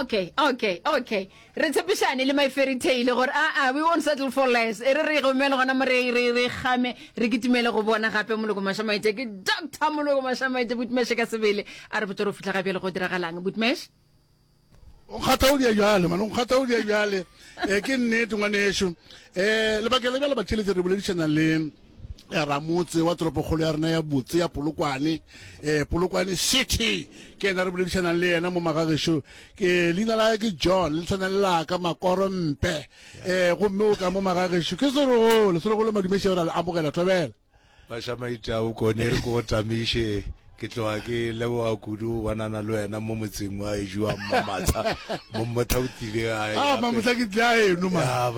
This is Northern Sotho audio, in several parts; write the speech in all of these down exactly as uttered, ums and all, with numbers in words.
Okay, okay, okay. Re tshepišane le my fairy tale gore a a we won't settle for less. E re re gomele gona mo re re re game re kitimele go bona gape Moloko Mashamaite ke Doctor Moloko Mashamaite Butmeshe ka sebele a re botse re fihla ga bjale go diragalang Butmesh. O nkgatha o dia bjale man, o nkgatha o dia bjale. Eh ke nnete ngwanešu. Eh lebaka le bjale batheeletši re boledišana le ramotse wa toropokgolo ya rena ya botse ya Polokwane, eh Polokwane City. Ke yena re boledišanang le yena mo magagešo. Ke leina la ke John, le tshwana le la ka Makoro Mpe. Eh gomme o ka mo magagešo. Ke Serogolo, Serogolo Madumeše re le amogela thobela. Bašamaite a bokone re ko tamiše ke tloga ke leboga kudu go bonana le wena mo motseng wa ešo wa Mmamatsa mo mmotha o tlile gae Ah, Mamotla ke tlile ga eno man. Ya,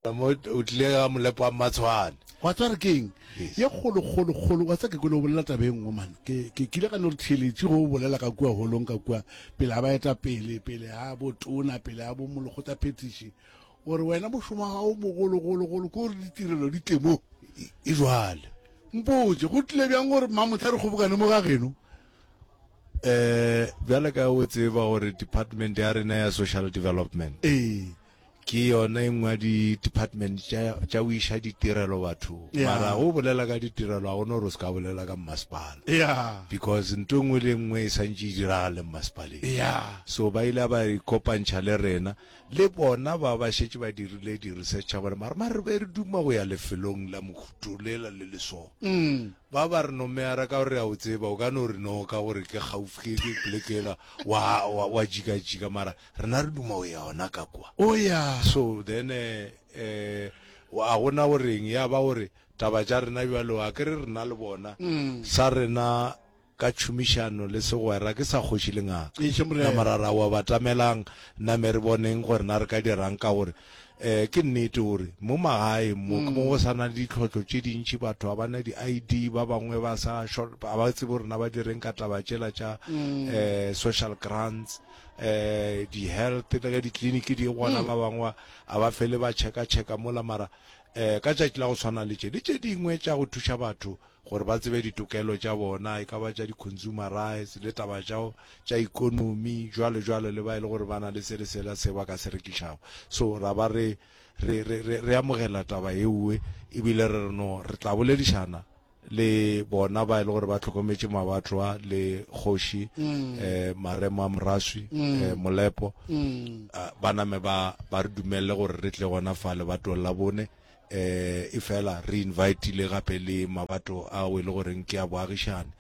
ba mo o tlile ga molepo wa Mmatshwane. Wa tseba re keng ye kgolo kgolo kgolo wa tseba ke kwele o bolela taba e nngwe man ke ke kile ka no re theeletše go bolela ka kua holong ka kua pele ga baetapele pele ga botona pele ga bo molekgotla phetiši o re wena mošomo wa gago mogologologolo ke gore ditirelo di tle mo e jwale mpotše go tlile bjang gore Mamotla re kgobokane mo ga geno eh bjale ka o tseba gore department ya rena ya social development ee ke yona e nngwe ya di-department tša tša go iša ditirelo bathong Yeah. mara go bolela ka ditirelo ga gona gore o se ka bolela ka mmasepala ya because ntho e nngwe le e nngwe e santše e diragale mmasepaleng ya so ba ile ba ikopantšha le rena le bona ba ba šetše ba dirile di-research tša bona mara mare re be re duma go ya lefelong la mohuto lela le le so mm ba ba re no meara ka gore a o tseba o ka no re no ka gore ke gaufi ke ke polekela wa wa wa jika-jika mara rena re duma go ya ona ka kwa o ya so then eh eh a gona goreng ya ba gore taba tša rena bjalo a ke re rena le bona mm sa rena ka tšhomišano le segwera ke sa kgoši le ngaka Eiše morena. nama ra ra wa batamelang name re boneng gore na re ka dirang ka gore eh ke nnete gore mo magaeng mo ke mo go sa na le ditlhohlo tše dintši batho ga ba na di-I D ba bangwe ba sa ga ba tsebe gore na ba direng ka taba tšela tša eh social grants eh di-health le ge ditleliniki di gona ba bangwe a ba fele ba checka-checka mola mara eh ka tšatši la go tshwana le tše le tše dingwe tša go thuša batho gore ba tsebe ditokelo tša bona e ka ba tša di-consumer rights le taba tša tša economy jwalo jwalo le ba e le gore ba na le se le sela se ba ka se rekišago so ra ba re re re re re amogela taba ewe ebile re re no re tla boledišana le bona ba e le gore ba hlokometše mabatho a le kgoši eh Maremo a Moraswi eh Molepo ah, ba name ba ba re dumelle gore re tle gona fa lebatong la bone eh e fela re invitile gape le mabato ao e le goreng ke a boagišane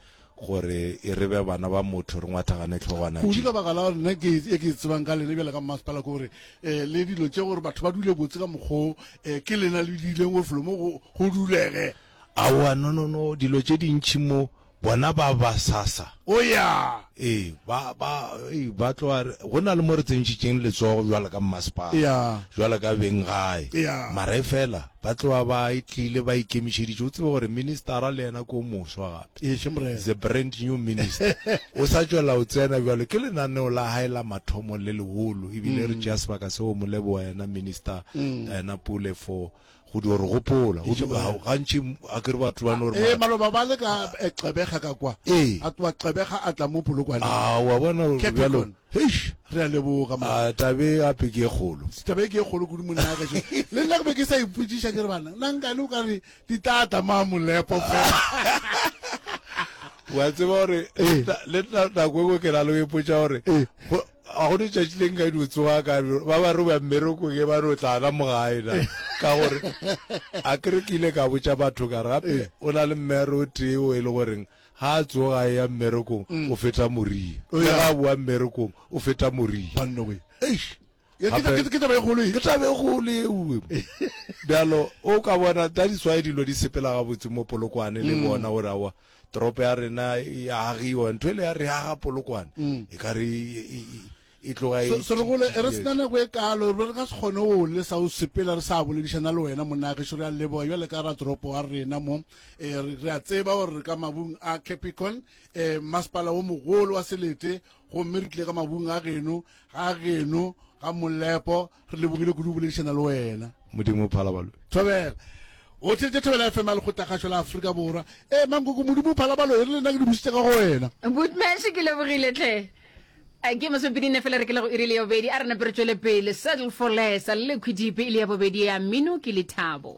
gore e re be bana ba motho re ngwathagane tlhogwana kudu ka baka la gore nna ke e ke e tsebang ka lena bjale ka mmasepala ke gore um le dilo tše gore batho ba dule botse ka mokgwa um ke lena le dileng gore felo mo go go dulege aowa no no no dilo tše dintšhi mo bona ba ba sasa o ya ee ba ba ee ba tloga re- go na le mo re tsentšhitšeng letsogo jwalo ka mmasepala ya jwalo ka beng gae ya mara e fela ba tloga ba e tlile ba ikemišeditše o tsebe gore ministera le yena ke o moswa gape eiše morena is a brand new minister o sa tšwela o tsena bjalo ke lenaneo la hae la mathomo le legolo ebile re tšea sebaka seo mo leboga yena minister yena Pule for go dio re gopola Go dio- ga- gantši a kere batho ba no re ee maloba ba le ka eh, Gqeberha ka kwa ee a tloa Gqeberha a tla mo Polokwane a wa bona gore bjalo Capricorn. heish re a leboga man a tabe gape ke e kgolo taba e ke e kgolo kudu monna gešo le nna ke be ke sa ipotšiša ke re bana nna nkane o ka re di tata ma molepo fela wa tseba gore Ee. le nna nako engwe ke na le go ipotša gore Ee. go- ga go letšatši le nka di tsoga ka ba ba re ba mmerekong e ba re o tla na mo gae na ka gore a ke re ke ile ka botša batho ka re gape o na le mmere o tee o e le goreng ga a tsoga a ya mmerekong o feta moria O le ya. ga a boa mmerekong o feta moria banna we eish Ke- ke- Gape- ke ke taba e kgolo e ke taba e kgolo ewe bjalo o ka bona that is why dilo di sepela gabotse mo Polokwane le bona gore aowa toropo ya rena e agiwa ntho ele ya re aga Polokwane e ka re e- e e- e tloga e- Serogolo re sena nako e kalo re ka se kgone go lesa o sepela re sa boledišana le wena monna gešo re a leboga jale ka ratoropo wa rena mo um re a tseba gore re ka mabung a Capricorn um masepala wo mogolo wa selete gomme re tlile ka mabung a geno ga geno ga Molepo re lebogile kudu go boledišana le wena Modimo phala balo thobela o theletše Thobela F M ya lekgotlakgašo la Afrika Borwa e mankoko Modimo phala balo e re le nna ke di busitše ka go wena Butmesh ke lebogile tlhe. Eh, ke masomepedi nne fela re ke le go iri le ya bobedi a re nape re tšwele pele settle for less liquid e le ya bobedi ya mmino ke lethabo.